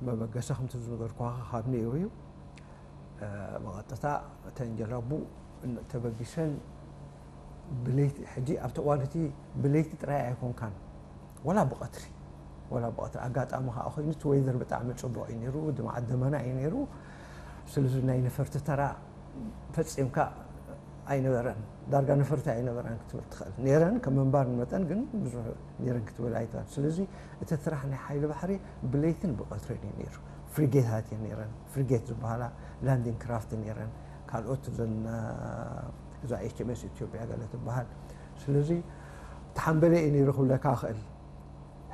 መበገሲ ከምቲ ዝነገርኩኻ ካብ ነይሩ እዩ። መቐጥታ እተን ጀላቡ ተበጊሰን ብለይቲ፣ ሕጂ ኣብቲ እዋን እቲ ብለይቲ ጥራይ ኣይኮንካን፣ ወላ ብቐትሪ፣ ወላ ብቐትሪ። ኣጋጣሚ ከዓ ኮይኑ እቲ ወይዘር ብጣዕሚ ፅቡቕ እዩ ነይሩ፣ ድማዓት ደመና እዩ ነይሩ። ስለዚ ናይ ነፈርቲ ተራ ፈፂምካ ኣይነበረን። ዳርጋ ነፈርቲ ኣይነበራን ክትብል ትኽእል። ነይረን ከም ምንባር መጠን ግን ብዙሕ ነይረን ክትብል ኣይትኽእል። ስለዚ እቲ ስራሕ ናይ ሓይሊ ባሕሪ ብለይትን ብቐትርን እዩ ነይሩ። ፍሪጌታት እየን ነይረን። ፍሪጌት ዝበሃላ ላንዲንግ ክራፍት ነይረን። ካልኦት ዘን እዛ ኤች ኤም ኤስ ኢትዮጵያ ገለ ትበሃል። ስለዚ ተሓንበለ እዩ ነይሩ ክብለካ እኽእል።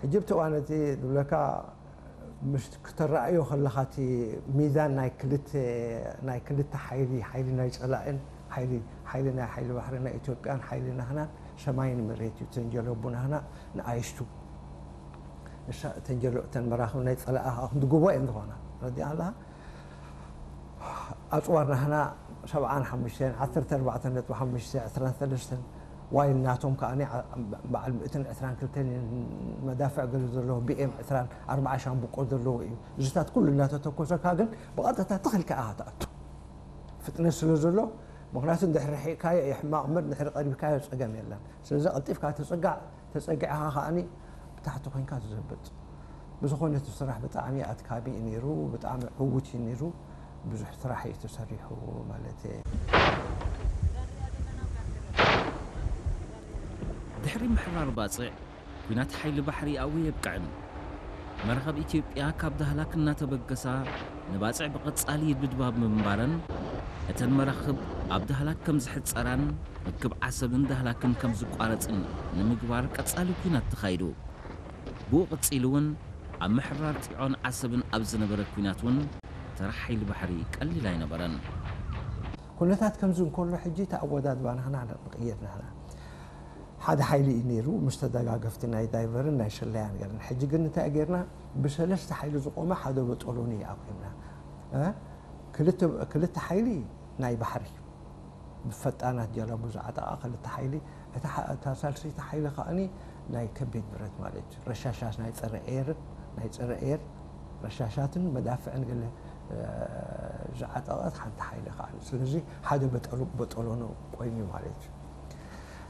ሕጂ ብቲ እዋን እቲ ዝብለካ ምስ ክተረኣዮ ከለኻ እቲ ሚዛን ናይ ክልተ ናይ ክልተ ሓይሊ፣ ሓይሊ ናይ ጸላእን ሓይሊ፣ ሓይሊ ናይ ሓይሊ ባሕሪ ናይ ኢትዮጵያን ሓይሊ ናህናን ሰማይን መሬት እዩ። እተን ጀለቡ ናህና ንኣይሽቱ ንሳ እተን ጀሎ እተን መራኽብ ናይ ጸላእ ክንድግቦ እየን ዝኾና። ረዲኣ ኣለኻ? ኣጽዋር ናህና ሰብዓን ሓሙሽተን፣ ዓሰርተ ኣርባዕተ ነጥቢ ሓሙሽተ፣ ዕስራን ሰለስተን፣ ዋይል ናቶም ከኣ በዓል ሚእትን ዕስራን ክልተን መዳፍዕ ገለ ዘለዎ፣ ቢ ኤም ዕስራን ኣርባዓ ሻምብቆ ዘለዎ እዩ። እዚታት ኩሉ እናተተኮሰካ ግን ብቐጥታ ትኽልካ ኢኻ ትኣቱ። ፍጥነት ስለ ዘሎ፣ ምኽንያቱ እንድሕሪ ርሒቕካዮ እዩ ሕማቕ እምበር፣ እንድሕሪ ቀሪብካዮ ጸገም የለን። ስለዚ ቀልጢፍካ ትጽጋዕ፣ ተጸጊዕኻ ከኣኒ ብታሕቲ ኮይንካ ትዘብጥ። ብዝኾነ እቲ ስራሕ ብጣዕሚ ኣድካሚ እዩ ነይሩ፣ ብጣዕሚ ዕዉት እዩ ነይሩ። ብዙሕ ስራሕ እዩ ተሰሪሑ ማለት እየ። ድሕሪ ምሕራር ባጽዕ፣ ኲናት ሓይሊ ባሕሪ ኣብኡ የብቅዕን። መራኽብ ኢትዮጵያ ካብ ዳህላክ እናተበገሳ ንባጽዕ ብቐጻሊ ይድብድባ ብምንባረን፣ እተን መራኽብ ኣብ ዳህላክ ከም ዝሕጸራን ርክብ ዓሰብን ዳህላክን ከም ዝቋረጽን ንምግባር ቀጻሊ ኲናት ተኻይዱ። ብኡ ቀጺሉ እውን ኣብ ምሕራር ጢዖን ዓሰብን ኣብ ዝነበረ ኲናት እውን ተራ ሓይሊ ባሕሪ ቀሊል ኣይነበረን። ኩነታት ከምዚ እንከሎ ሕጂ እቲ ኣወዳድባ ናህና ንቕየር ናህና ሓደ ሓይሊ እዩ ነይሩ፣ ምስ ተደጋገፍቲ ናይ ዳይቨርን ናይ ስለያን ገለን። ሕጂ ግን እንታይ ጌርና? ብሰለስተ ሓይሊ ዝቆመ ሓደ በጠሎኒ እዩ ኣቑምና። እ? ክልተ ክልተ ሓይሊ ናይ ባሕሪ ብፈጣናት ጀላቡ ዝዓጠቓ ክልተ ሓይሊ፣ እታ ሓ- እታ ሳልሰይቲ ሓይሊ ከኣኒ ናይ ከቢድ ብረት ማለት እዩ። ረሻሻት ናይ ጸረ ኤር ናይ ጸረ ኤር ረሻሻትን መዳፍዕን ገለ እ፣ ዝዓጠቐት ሓንቲ ሓይሊ ከኣኒ። ስለዚ ሓደ በጠሎ በጠሎኒ ቆይሚ ማለት እዩ።